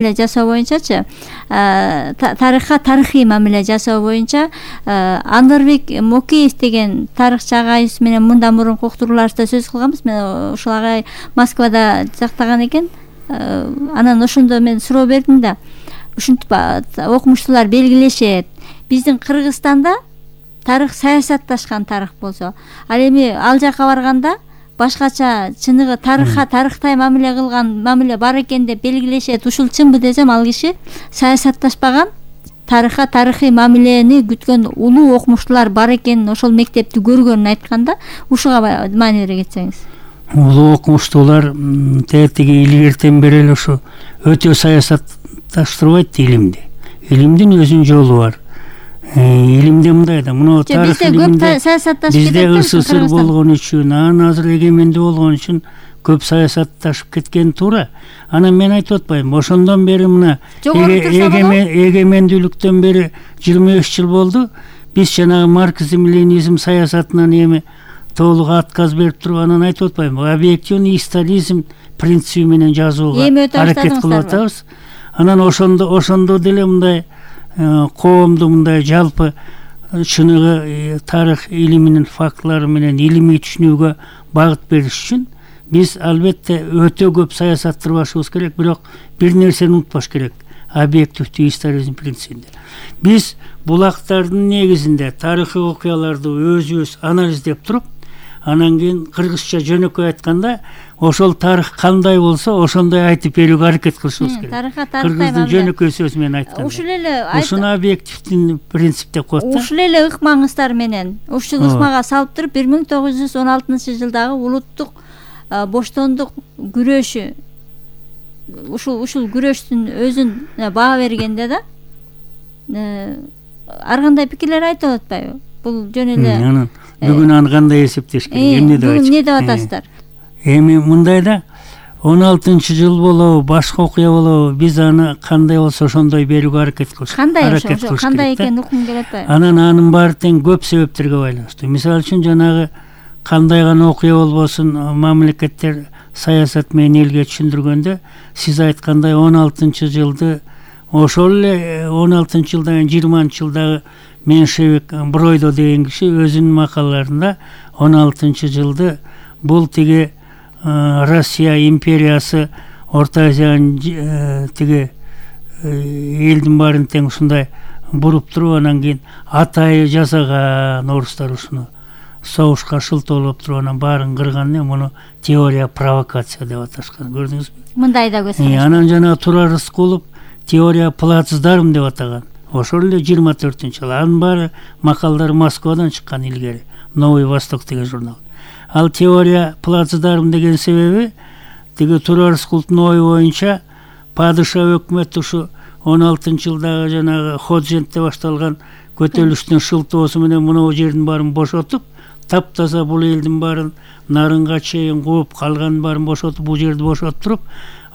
жасоо боюнчачы тарыхка тарыхый мамиле жасоо боюнча Анырбек Мокеев деген тарыхчы агайыбыз менен мындан мурунку уктурууларыбызда сөз кылганбыз. Мен ушул агай Москвада жактаган экен. Анан ошондо мен суроо бердим да. Ушинтип окумуштуулар белгилешет. Биздин Кыргызстанда тарых саясатташкан тарых болсо, ал эми ал жака барганда башкача чыныгы тарыхка тарыхтай мамиле кылган мамиле бар экен деп белгилешет. Ушул чынбы десем, ал киши саясатташпаган, тарыхка тарыхый мамилени күткөн улуу окумуштуулар бар экенин, ошол мектепти көргөнүн айтканда, ушуга маани бере кетсеңиз. Улуу окумуштуулар тетиги илгертен бери эле ушу өтө саясатташтырбайт илимди. Илимдин өзүнүн жолу бар. Илимде мындай да, мына тарых илимде бизде СССР болгон үчүн, анан азыр эгемендүү болгон үчүн көп саясатташып кеткен туура. Анан мен айтып атпайм, ошондон бери мына эгемендүүлүктөн бери 25 жыл болду. Биз жанагы марксизм-ленинизм саясатынан эми толук отказ берип туруп, анан айтып атпайм, объективный историзм принципи менен жазууга аракет кылып атабыз. Анан ошондо деле мындай коомду мындай жалпы чыныгы тарых илиминин фактылары менен илимий түшүнүүгө багыт бериш үчүн биз албетте өтө көп саясаттырбашыбыз керек, бирок бир нерсени унутпаш керек: объективдүү историзм принцибинде. Биз булактардын негизинде тарыхый окуяларды өзүбүз анализдеп туруп, анан кийин кыргызча жөнөкөй айтканда, ошол тарых кандай болсо ошондой айтып берүүгө аракет кылышыбыз керек. Кыргыздын жөнөкөй сөзү менен айтканда. Ушул эле ушуну объективдин принцип деп коет да. Ушул эле ыкмаңыздар менен ушул ыкмага салып туруп 1916-жылдагы улуттук боштондук күрөшү, ушул күрөштүн өзүн баа бергенде да ар кандай пикирлер айтып атпайбы? Бул жөн эле бүгүн аны кандай эсептеш керек, эмне деп атасыздар? Эми мындай да, 16-жыл болобу, башка окуя болобу, биз аны кандай болсо ошондой берүүгө аракет кылыш керек. Кандай экенин уккум келип атпайбы? Анын баары тең көп себептерге байланыштуу. Мисалы үчүн жанагы кандай гана окуя болбосун, мамлекеттер саясат менен элге түшүндүргөндө, сиз айткандай 16-жылды ошол эле 16-жылдан 20-жылдагы Меншевик Бройдо деген киши өзүнүн макалаларында 16-жылды бул тиги Россия империясы Орто Азиянын тиги элдин баарын тең ушундай буруп туруп, анан кийин атайы жасаган орустар ушуну согушка шылтоолоп туруп, анан баарын кырган, муну теория провокация деп аташкан. Көрдүңүзбү? Мындай да көз. Анан жана Турар Рыскулов теория плацдарм деп атаган. Ошол эле 24-жыл. Анын баары макалдар Москвадан чыккан илгери. Новый Восток деген журнал. Ал теория плацдарм деген себеби тиги Турар Рыскуловдун ою боюнча падыша өкмөт ушу 16-жылдагы жанагы Ходжентте башталган көтөрүлүштүн шылтоосу менен мына жердин баарын бошотуп, таптаза бул элдин баарын нарынга чейин кууп, калганын баарын бошотуп, бул жерди бошотуп туруп,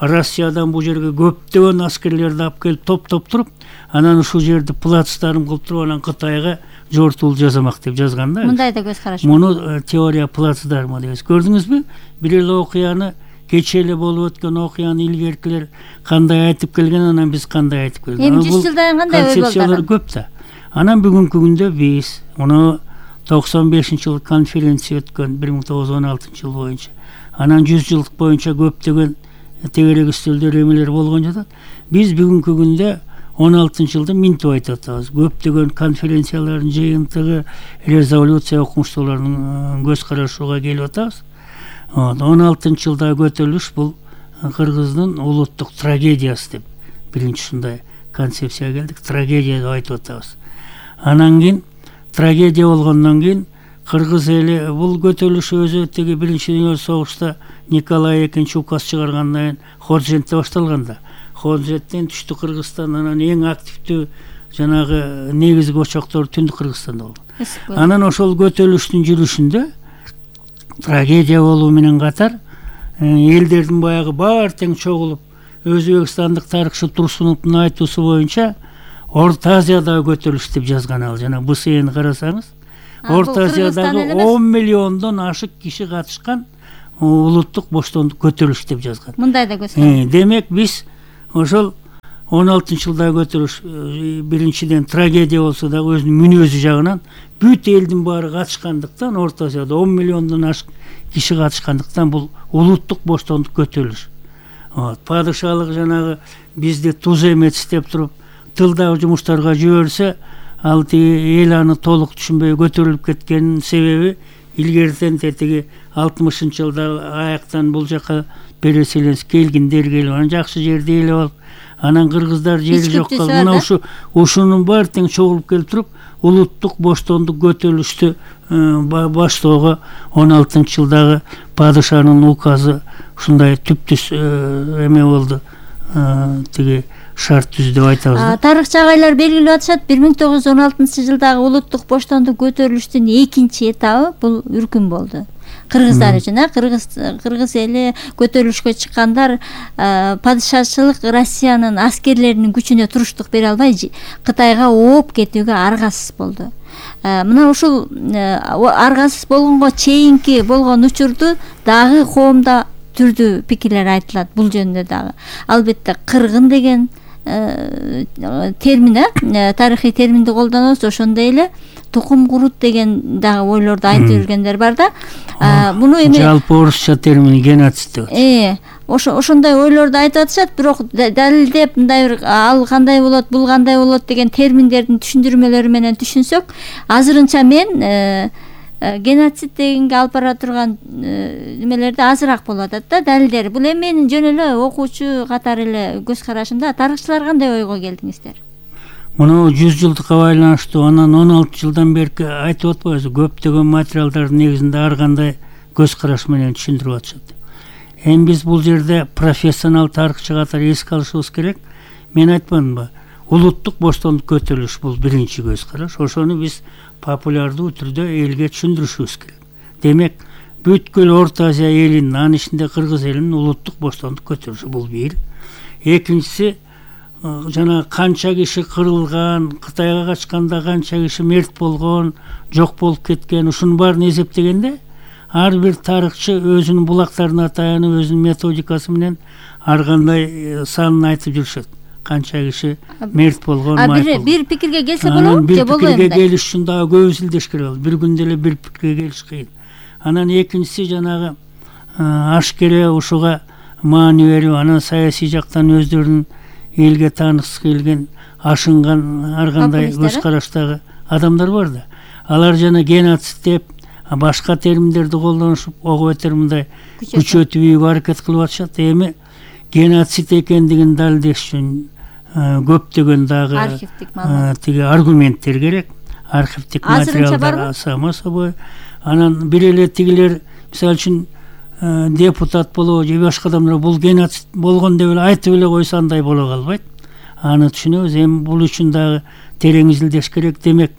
Россиядан бул жерге көптөгөн аскерлерди алып келип топтоп туруп, анан ушул жерди плацдарм кылып туруп, анан Кытайга жортуул жасамак деп жазган да. Мындай да көз караш. Муну теория плацдармы дейбиз. Көрдүңүзбү? Бир эле окуяны, кече эле болуп өткөн окуяны илгеркилер кандай айтып келген, анан биз кандай айтып келген. Эми 100 жылдан кандай ой концепциялар көп да. Анан бүгүнкү күндө биз муну 95-жыл конференция өткөн 1916-жыл боюнча. Анан 100 жылдык боюнча көптөгөн тегерек үстөлдөр эмелер болгон жатат. Биз бүгүнкү күндө 16-жылды минтип айтып атабыз. Көптөгөн конференциялардын жыйынтыгы, резолюция окумуштуулардын көз карашууга келип атабыз. 16-жылдагы көтөрүлүш бул Кыргыздын улуттук трагедиясы деп биринчи ушундай концепцияга келдик. Трагедия деп айтып атабыз. Анан кийин трагедия болгондон кийин Кыргыз эли бул көтөрүлүш өзү тиги биринчи дүйнөлүк согушта Николай II указ чыгаргандан кийин Ходжентте башталганда, Ходженттен түштүк Кыргызстан, анан эң активдүү жанагы негизги очоктор Түндүк Кыргызстанда болгон. Анан ошол көтөрүлүштүн жүрүшүндө трагедия болуу менен катар элдердин баягы баары тең чогулуп, өзбекстандык тарыхчы Турсуновдун айтуусу боюнча Орто Азиядагы көтөрүлүш деп жазган. Ал жана БСН карасаңыз, Орто Азиядагы 10 миллиондон ашык киши катышкан улуттук боштондук көтөрүлүш деп жазган. Мындай да көз караш. Демек биз ошол 16-жылдагы көтөрүш биринчиден трагедия болсо дагы өзүнүн мүнөзү жагынан бүт элдин баары катышкандыктан, Орто Азияда 10 миллиондон ашык киши катышкандыктан бул улуттук боштондук көтөрүлүш. Падышалык жанагы бизди туз эмес деп туруп тылдагы жумуштарга жиберсе, ал эл аны толук түшүнбөй көтөрүлүп кеткенин себеби илгертен тетиги 60-жылда аяктан бул жака переселенец келгиндер келип, анан жакшы жерди ээлеп алып, анан кыргыздар жери жок калып, мына ушунун баары тең чогулуп келип туруп улуттук боштондук көтөрүлүштү баштоого 16-жылдагы падышанын указы ушундай түптүз эме болду, тиги шарт түз деп айтабыз. Тарыхчы агайлар белгилеп атышат, 1916-жылдагы улуттук боштондук көтөрүлүштүн экинчи этабы бул үркүм болду. Кыргыздар үчүн, кыргыз эли көтөрүлүшкө чыккандар падышачылык Россиянын аскерлеринин күчүнө туруштук бере албай Кытайга ооп кетүүгө аргасыз болду. Мына ушул аргасыз болгонго чейинки болгон учурду дагы коомдо түрдүү пикирлер айтылат бул жөнүндө дагы. Албетте кыргын деген термин, тарыхый терминди колдонобуз, ошондой эле тукум курут деген дагы ойлорду айтып жүргендер бар да. Муну эми жалпы орусча термин геноцид деп. Ошондой ойлорду айтып атышат, бирок далилдеп мындай бир ал кандай болот, бул кандай болот деген терминдердин түшүндүрмөлөрү менен түшүнсөк, азырынча мен геноцид дегенге алып бара турган немелерди азыраак болуп атат да, далилдери. Бул эми менин жөн эле окуучу катары эле көз карашымда. Тарыхчылар кандай ойго келдиңиздер? Муну 100 жылдыкка байланыштуу анан 16 жылдан берки айтып атпайбызбы, көптөгөн материалдардын негизинде ар кандай көз караш менен түшүндүрүп атышат. Эми биз бул жерде профессионал тарыхчы катары эске алышыбыз керек. Мен айтпадымбы, улуттук боштондук көтөрүлүш бул биринчи көз караш. Ошону биз популярдуу түрдө элге түшүндүрүшүбүз керек. Демек, бүткүл Орто Азия элинин, анын ичинде кыргыз элинин улуттук боштондук көтөрүшү бул бир. Экинчиси, жана канча киши кырылган, Кытайга качканда канча киши мерт болгон, жок болуп кеткен, ушунун баарын эсептегенде ар бир тарыхчы өзүнүн булактарына таянып, өзүнүн методикасы менен ар кандай санын айтып жүрүшөт. Канча киши мерт болгон, бир пикирге келсе болобу же болбойбу? Бир пикирге келиш үчүн дагы көп изилдеш керек. Бир күндө эле бир пикирге келиш кыйын. Анан экинчиси жанагы ашкере ушуга маани берип, анан саясий жактан өздөрүнүн элге тааныксыз келген, ашынган ар кандай көз караштагы адамдар бар да. Алар жана геноцид деп, башка терминдерди колдонушуп, ого бетер мындай күчөтүүгө аракет кылып атышат. Эми геноцид экендигин далилдеш үчүн көптөгөн дагы тиги аргументтер керек, архивдик материалдар само собой. Анан бир эле тигилер, мисалы үчүн депутат болобу же башка адамдар бул геноцид болгон деп эле айтып эле койсо андай боло калбайт. Аны түшүнөбүз. Эми бул үчүн дагы терең изилдеш керек. Демек,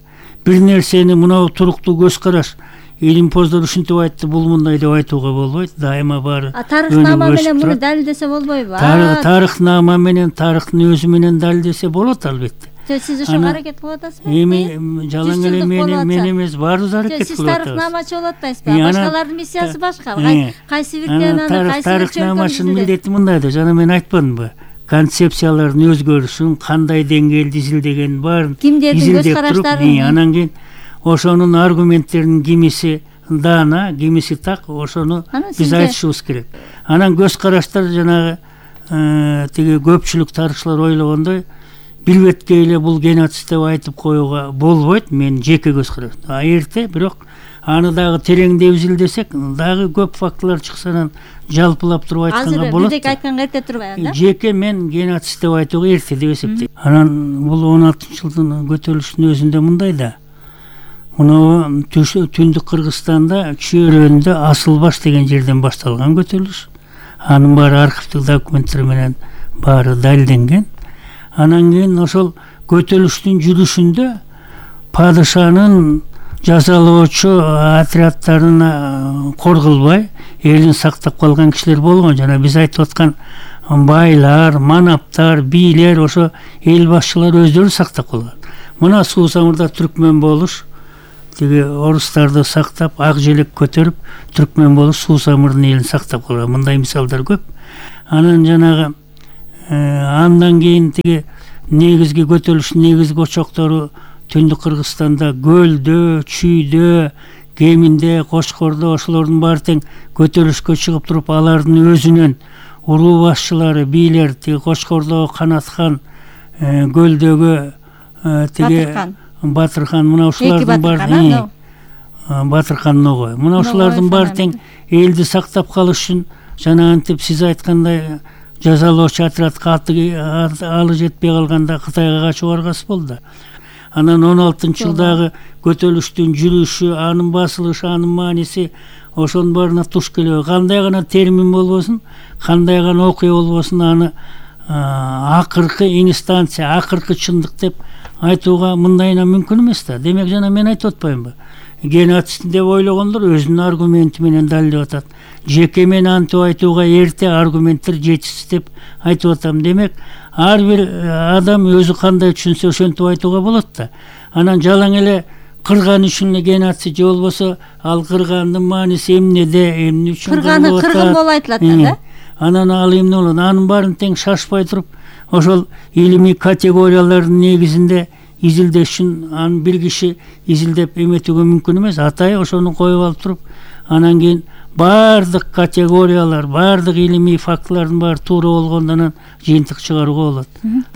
бир нерсени мына туруктуу көз караш, илимпоздор ушинтип айтты, бул мындай деп айтууга болбойт. Дайыма баары тарыхнама менен муну далилдесе болбойбу? Тарыхнама менен, тарыхтын өзү менен далилдесе болот албетте. Сиз ошого аракет кылып атасызбы? Эми жалаң эле мен эмес, баарыбыз аракет кылып атабыз. Сиз тарыхнамачы болуп атпайсызбы? Башкалардын миссиясы башка. Кайсы бир теманы, кайсы бир тарыхнамачынын милдети мындай да, жана мен айтпадымбы? Концепциялардын өзгөрүшүн, кандай деңгээлде изилдегенин баарын изилдеп туруп, анан кийин ошонун аргументтеринин кимиси даана, кимиси так, ошону биз айтышыбыз керек. Анан көз караштар жанагы тиги көпчүлүк тарыхчылар ойлогондой бир бетке эле бул геноцид деп айтып коюуга болбойт, мен жеке көз караш. Эрте, бирок аны дагы тереңдеп изилдесек, дагы көп фактылар чыкса, анан жалпылап туруп айтканга болот. Азыр бирдек айтканга эрте турбайбы да? Жеке мен геноцид деп айтууга эрте деп эсептейм. Анан бул 16-жылдын көтөрүлүшүнүн өзүндө мындай да. Муну түндүк Кыргызстанда Чөйрөндө Асылбаш деген жерден башталган көтөрүлүш. Анын баары архивдик документтер менен баары далилденген. Анан кийин ошол көтөрүлүштүн жүрүшүндө падышанын жазалоочу отряддарына кор кылбай элин сактап калган кишилер болгон. Жана биз айтып аткан байлар, манаптар, бийлер, ошо эл башчылары өздөрү сактап калган. Мына Суусамырда түркмөн болуш, тиги орустарды сактап, ак желек көтөрүп, түркмөн болуш, Суусамырдын элин сактап калган. Мындай мисалдар көп. Анан жанагы андан кийин тиги негизги көтөрүлүштүн негизги очоктору Түндүк Кыргызстанда Көлдө, Чүйдө, Кеминде, Кочкордо, ошолордун баары тең көтөрүлүшкө чыгып туруп, алардын өзүнүн уруу башчылары, бийлер, тиги Кочкордогу Канатхан, Көлдөгү тиги Батырхан, мына ушулардын баары Батырхан Ногой. Мына ушулардын баары тең элди сактап калыш үчүн жана антип сиз айткандай жазалоочу отрядка алы жетпей калганда Кытайга качып баргасы болду. Анан 16-жылдагы көтөрүлүштүн жүрүшү, анын басылышы, анын мааниси ошонун баарына туш келип, кандай гана термин болбосун, кандай гана окуя болбосун, аны акыркы инстанция, акыркы чындык деп айтууга мындайынан мүмкүн эмес да. Демек жана мен айтып атпаймынбы? Геноцид деп ойлогондор өзүнүн аргументи менен далилдеп атат. Жеке мен антип айтууга эрте, аргументтер жетишсиз деп айтып атам. Демек ар бир адам өзү кандай түшүнсө ошентип айтууга болот да. Анан жалаң эле кырган үчүн геноцид же болбосо ал кыргандын мааниси эмнеде, эмне үчүн кырганы кыргын болуп айтылат да. Анан ал эмне болот? Анын баарын тең шашпай туруп, ошол илимий категориялардын негизинде изилдеш үчүн анын бир киши изилдеп эметүүгө мүмкүн эмес. Атайы ошону коюп алып туруп, анан кийин баардык категориялар, баардык илимий фактылардын баары туура болгондо анан жыйынтык чыгарууга болот.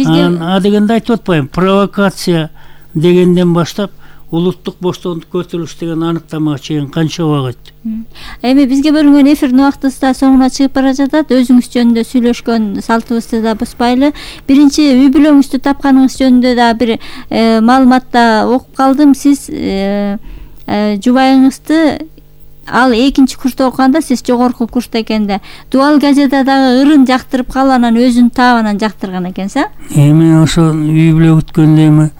Анан адегенде айтып атпайм, провокация дегенден баштап улуттук боштондук көтөрүлүш деген аныктамага чейин канча убакыт. Эми бизге бөлүнгөн эфирдин убактыбыз да соңуна чыгып бара жатат. Өзүңүз жөнүндө сүйлөшкөн салтыбызды да бузбайлы. Биринчи үй бүлөңүздү тапканыңыз жөнүндө да бир маалыматта окуп калдым. Сиз жубайыңызды ал экинчи курста окуганда, сиз жогорку курста экенде Дубал газета дагы ырын жактырып калып, анан өзүнүн таабынан жактырган экенсиз. Эми ошо үй бүлө бүткөндө эми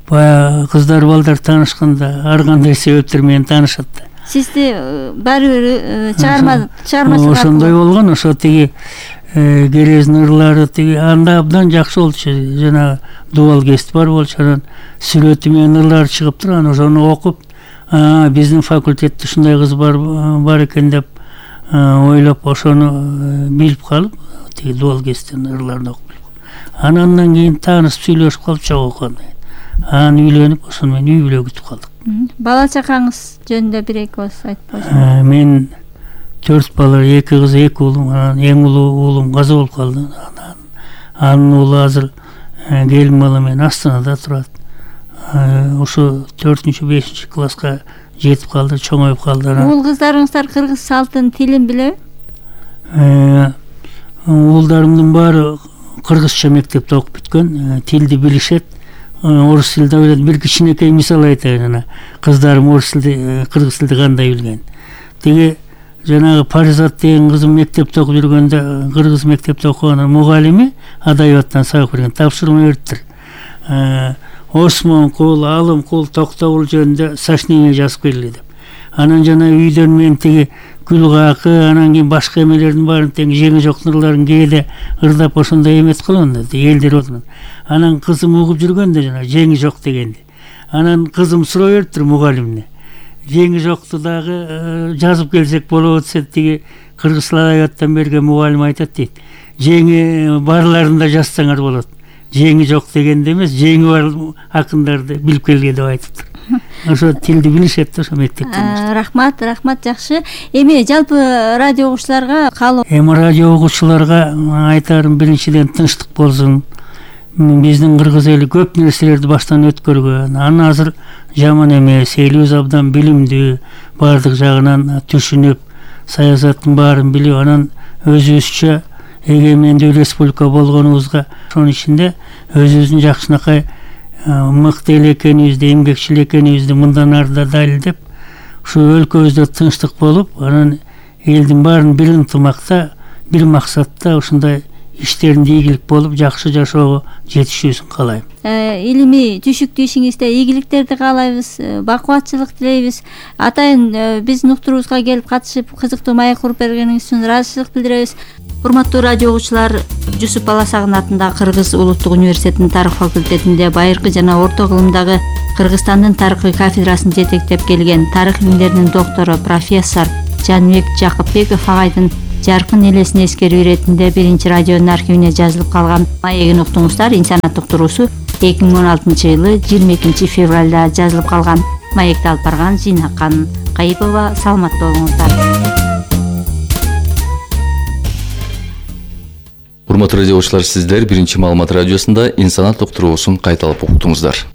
баягы кыздар балдар таанышканда ар кандай себептер менен таанышат да. Сизди баары бир чыгармачылык ошондой болгон. Ошо тиги керездин ырлары тиги анда абдан жакшы болчу. Жана Дубал гезит бар болчу. Анан сүрөтү менен ырлары чыгып туруп, анан ошону окуп, биздин факультетте ушундай кыз бар экен деп ойлоп, ошону билип калып, тиги Дубал гезиттин ырларын окуп, анан кийин таанышып сүйлөшүп калып чогуу окуган. Анан үйлөнүп, ошону менен үй бүлө күтүп калдык. Бала чакаңыз жөнүндө бир эки ооз айтып койсоңуз. Мен 4 бала, 2 кыз, 2 уулум, анан эң улуу уулум каза болуп калды. Анын уулу азыр келин бала менен Астанада турат. Ошо 4-5 класска жетип калды, чоңоюп калды. Уул кыздарыңыздар кыргыз салтын, тилин билеби? Уулдарымдын баары кыргызча мектепте окуп бүткөн, тилди билишет. Орус тилде билет. Бир кичинекей мисал айтайын. Кыздарым орус тилди, кыргыз тилди кандай билген. Тиги жанагы Паризат деген кызым мектепте окуп жүргөндө, кыргыз мектепте окуган мугалими адабияттан сабак берген, тапшырма бериптир. Осмон кул, алым кул, токтогул жөнүндө сочинение жазып келди деп. Анан жана үйдөн мен тиги Гүлгакы, анан кийин башка эмелердин баарын тең жеңи жоктун ырларын кээде ырдап ошондой эметип калган да, элдер отурган. Анан кызым угуп жүргөндө жана жеңи жок дегенди. Анан кызым суроо бериптир мугалимине. Жеңи жокту дагы жазып келсек болобу десе, тиги кыргыз адабияттан берген мугалим айтат дейт. Жеңи барларын да жазсаңар болот. Жеңи жок дегенде эмес, жеңи бар акындарды билип келген деп айтыптыр. Ошо тилди билишет ошо мектептен. Рахмат, жакшы. Эми жалпы радио угуучуларга каалоо. Эми радио угуучуларга айтарым, биринчиден тынчтык болсун. Биздин кыргыз эли көп нерселерди баштан өткөргөн. Анан азыр жаман эмес, элибиз абдан билимдүү, баардык жагынан түшүнүп, саясаттын баарын билип, анан өзүбүзчө эгемендүү республика болгонубузга, ошонун ичинде өзүбүздүн жакшынакай мыкты эле экенибизди, эмгекчил экенибизди мындан ары да далилдеп, ушу өлкөбүздө тынчтык болуп, анан элдин баарын бир ынтымакта, бир максатта ушундай иштеринде ийгилик болуп, жакшы жашоого жетишүүсүн каалайм. Илимий түшүктүү ишиңизде ийгиликтерди каалайбыз, бакубатчылык тилейбиз. Атайын биздин уктуруубузга келип катышып, кызыктуу маек куруп бергениңиз үчүн ыраазычылык билдиребиз. Урматтуу радио угуучулар, Жусуп Баласагын атындагы Кыргыз Улуттук университетинин тарых факультетинде байыркы жана орто кылымдагы Кыргызстандын тарыхый кафедрасын жетектеп келген тарых илимдеринин доктору профессор Жаныбек Жакыпбеков агайдын жаркын элесин эскерүү иретинде биринчи радионун архивине жазылып калган маегин уктуңуздар. Инсаният уктуруусу 2016-жылы 22 февралда жазылып калган. Маекти алып барган Жинакан Кайыпова. Саламатта болуңуздар. Урматтуу радио окуучулар, сиздер биринчи маалымат радиосунда инсаният уктуруусун кайталап уктуңуздар.